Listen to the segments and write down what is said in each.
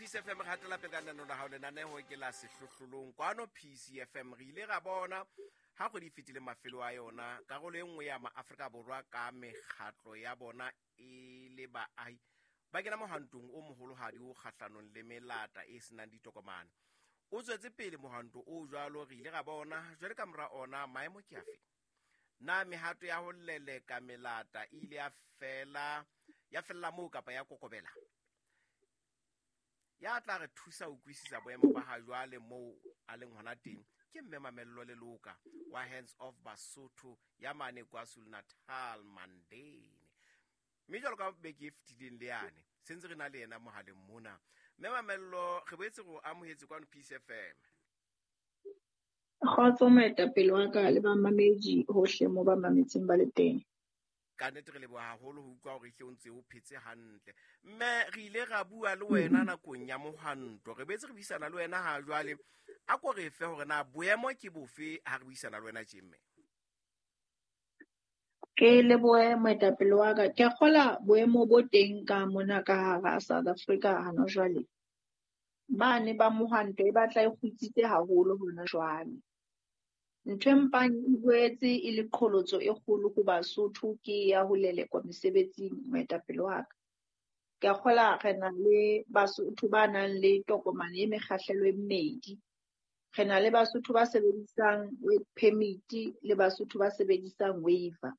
Peace FM, re hatela pele ka lenaneo la hao. Lenaneo ke la Sehlohlolong kwano Peace FM. Re ile ra bona ha kgwedi e fetile mafelo a yona, karolo e nngwe ya maAfrika Borwa ka mekgatlo ya bona e le baahi ba kena mohwantong o moholohadi o kgahlanong le melata e senang ditokomane. O tswetse pele mohwanto o jwalo, re ile ra bona jwale ka mora ona maemo ke afe? Na mehato ya ho leleka melata e ile ya fela, ya fella moo kapa ya kokobela? Ya tla re thusa ho utlwisisa boemo ba ha jwale moo a leng hona teng ke Mme Mamello Leloka wa Hands Off Basotho ya mane KwaZulu-Natal, Mandeni. Mme jwalo ka beke e fetileng le yane, se ntse re na le yena mohaleng mona. Mme Mamello, re boetse re o amohetse kwano Peace FM. Kgotso moetapele wa ka le bamamedi hohle mo ba mametseng ba le teng. Ka nnete re leboha haholo ho utlwa hore ehle o ntse o phetse hantle. Mme re ile ra bua le wena nakong ya mohwanto, re boetse re buisana le wena ha jwale. A ko re fe hore na boemo ke bofe ha re buisana le wena tje, mme? Ke lebohe moetapele wa ka. Ke a kgola boemo bo teng ka mona ka hara South Africa hana jwale. Bane ba mohwanto e batla e kgutsitse haholo hona jwale. Ntho e mpang e boetse e le qholotso e kgolo ho Basotho ke ya ho lelekwa mesebetsing, moetapele wa ka. Ke a kgola re na le Basotho ba nang le tokomane e mekgahlelo e mmedi. Re na le Basotho ba sebedisang work permit le Basotho ba sebedisang waiver.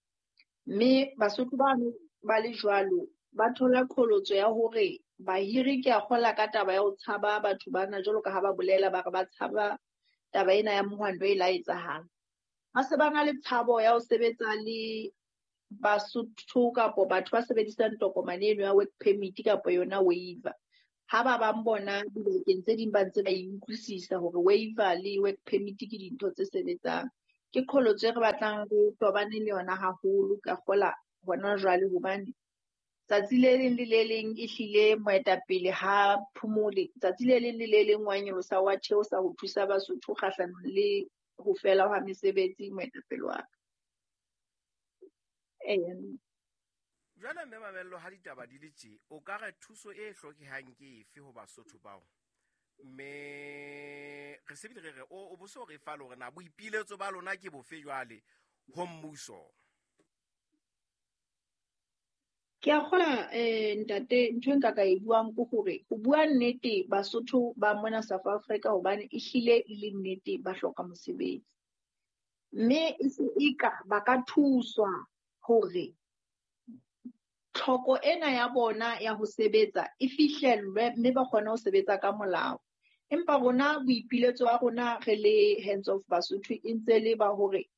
Mme Basotho bano ba le jwalo ba thola qholotso ya hore bahiri, ke a kgola ka taba ya ho tshaba batho bana, jwalo ka ha ba bolela ba re ba tshaba taba ena ya mohwanto e la etsahala. Ba se ba na le tshabo ya ho sebetsa le Basotho kapo batho ba sebedisang tokomane eno ya work permit kapo yona waiver. Ha ba bang bona dibakeng tse ding ba ntse ba e utlwisisa hore waiver le work permit ke dintho tse sebetsang. Ke qholotso e re batlang re tobane le yona haholo ka kgola hona jwale, hobane tsatsi le leng le le leng ehlile moetapele ha phomole. Tsatsi le leng le le leng wa nyolosa wa theosa ho thusa Basotho kgahlanong le ho fela hwa mesebetsi, moetapele wa ka. Eya. Jwale Mme Mamello, ha ditaba di le tje, o ka re thuso e hlokehang ke efe ho Basotho bao? Mme re se bile re re o bo so re fa le hore na boipiletso ba lona ke bofe jwale ho mmuso? Ke a kgola, ntate, ntho e nka ka e buang ke hore ho bua nnete Basotho ba mona South Africa, hobane ehlile e le nnete ba hloka mosebetsi. Mme e se eka ba ka thuswa hore tlhoko ena ya bona ya ho sebetsa e fihlellwe mme ba kgone ho sebetsa ka molao. Empa rona boipiletso ba rona re le Hands Off Basotho e ntse le ba hore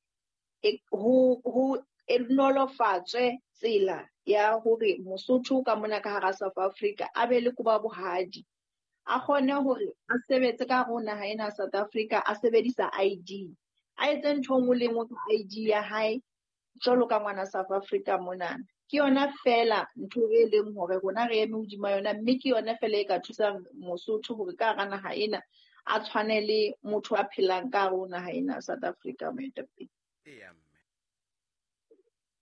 ho e nolofatswe tsela ya hore Mosotho ka mona ka hara South Africa a be le koba bohadi, a kgone hore a sebetse ka hare ho naha ena ya South Africa a sebedisa ID, a etse ntho e nngwe le nngwe ka ID ya hae jwalo ka ngwana South Africa monana. Ke yona feela ntho e leng hore rona re eme hodima yona, mme ke yona feela e ka thusang Mosotho hore ka hara naha ena a tshwane le motho a phelang ka hare ho naha ena ya South Africa, moetapele. Eya, mme.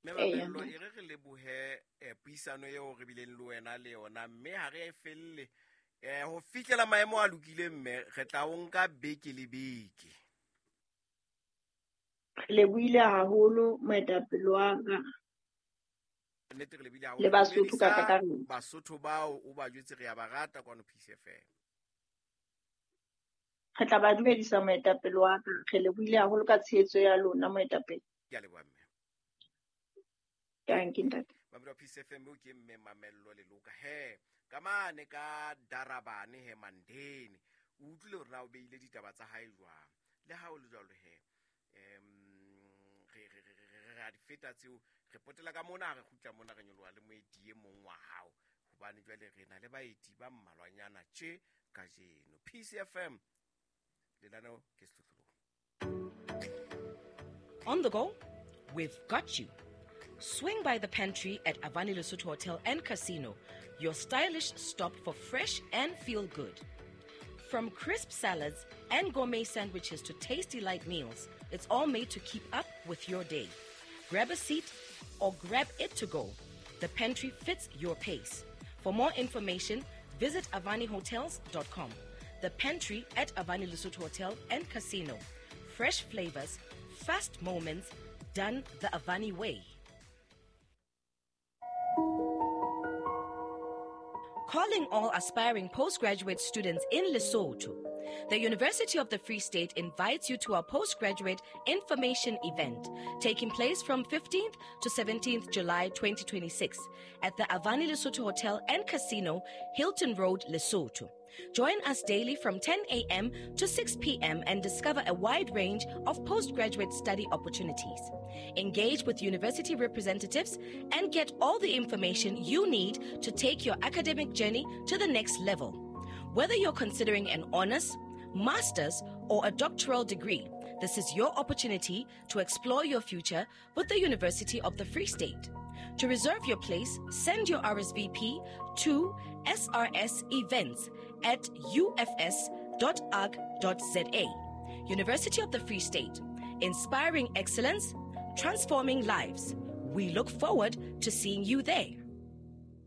Mme Mamello, e re re lebohe puisano eo re bileng le wena le yona, mme ha re e felle ho fihlela maemo a lokile, mme re tla o nka beke le beke. Re lebohile haholo moetapele wa ka. Nnete re lebile haholo. Le Basotho ka kakaretso. Basotho bao o ba jwetse re ya ba rata kwano Peace FM. Re tla ba dumedisa moetapele wa ka. Re lebohile haholo ka tshehetso ya lona moetapele. Ke a leboha, mme. Thank you, ntate. Mamelo Peace FM, o ke mme Mamello Leloka. He, ka mane ka Darabane he Mandeni. O utlwile hore na o beile ditaba tsa hae jwang. Le ha o le jwalo he, re a di feta tseo, re potela ka mona, re kgutla mona, re nyoloha le moeti e mong wa hao, hobane jwale re na le baeti ba mmalwanyana tje kajeno. Peace FM, lenaneo ke Sehlohlolong. On the go? We've got you. Swing by the pantry at Avani Lesotho Hotel and Casino, your stylish stop for fresh and feel good. From crisp salads and gourmet sandwiches to tasty light meals, it's all made to keep up with your day. Grab a seat or grab it to go. The pantry fits your pace. For more information, Visit avanihotels.com. The Pantry at Avani Lesotho Hotel and Casino. Fresh flavors, fast moments, done the Avani way. Calling all aspiring postgraduate students in Lesotho. The University of the Free State invites you to our postgraduate information event taking place from 15th to 17th July 2026 at the Avani Lesotho Hotel and Casino, Hilton Road, Lesotho. Join us daily from 10 a.m. to 6 p.m. and discover a wide range of postgraduate study opportunities. Engage with university representatives and get all the information you need to take your academic journey to the next level. Whether you're considering an honors, master's, or a doctoral degree, this is your opportunity to explore your future with the University of the Free State. To reserve your place, send your RSVP to srsevents@ufs.org.za. University of the Free State, inspiring excellence, transforming lives. We look forward to seeing you there.